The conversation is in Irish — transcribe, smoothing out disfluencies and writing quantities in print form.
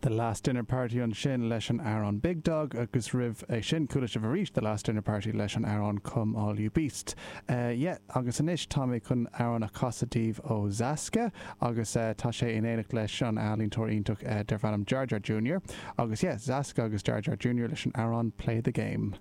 The Last Dinner Party ansin leis an amhrán Big Dog agus roimh é sin chuala sibh arís The Last Dinner Party leis an amhrán Come All You Beasts. Yeah, agus anois tá mé chun amhrán a chasadh daoibh ó Zaska agus tá sé in éineacht leis an ealaíontóir iontach darb ainm Jar Jar Junior agus yeah, Zaska agus Jar Jar Junior leis an amhrán Play the Game.